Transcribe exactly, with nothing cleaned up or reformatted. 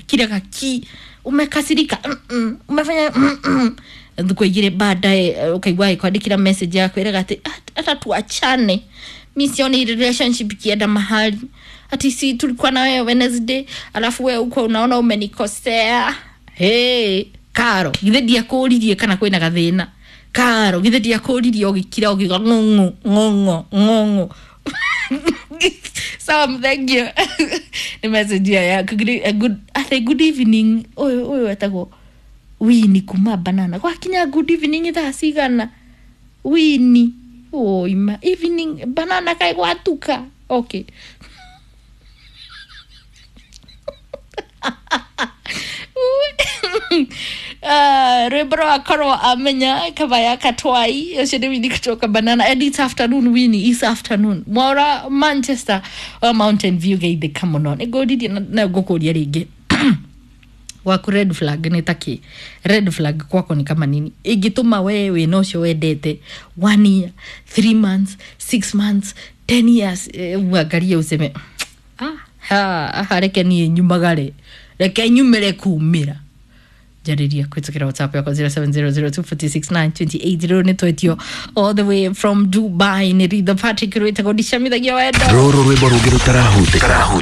Kila ki umekasirika, mm -mm. Umefanya mm -mm. Thikũ igĩrĩ baadaye ũkaigua ĩkwandĩkĩra message yaku ĩraga atĩ hata tuachane, mi sioni relationship ikienda mahali, ati si tulikuwa na wewe Wednesday, alafu wewe uko unaona umenikosea. Hey, karo githĩ ndiakũririe kana kwĩna gathĩna? Karo githĩ ndiakũririe ũgĩkira ũkiuga ng'ong'o ng'ong'o ng'ong'o? Sam, thank you. Nĩ message ĩyo yaku. Good, good, ate good evening. Ũyũ ũyũ etagwo Wini kuma Banana. Gwakinya good evening thaa cigana? Wini oima evening Banana kaĩ gwatuka. Okay. Uh, rwimbo rwakorwo amenya kavaya katwai ũcio nĩ Wini kutoka Banana, and it's afternoon. Wini, it's afternoon Mwaura Manchester wa Mountain View geithĩka mũno. Nĩ ngũririe na ngũkũria rĩngĩ, waku red flag nĩ takĩ? Red flag kwako ni kama nini ingĩtũma we wĩna ũcio wendete one year, three months, six months, ten years, uangalie useme, "Ah, ha, reke niĩ nyumagare, reke nyumĩre kumĩra." Njarĩria kũhĩtũkĩra WhatsApp yakwa zero seven zero zero two four six nine two eight zero. Nĩ twetio all the way from Dubai nĩ Ritho Patrick rwĩtagwo Ndicamithagia Wendo. Rũrũ rwĩmbo rũngĩ rũtarahutĩka.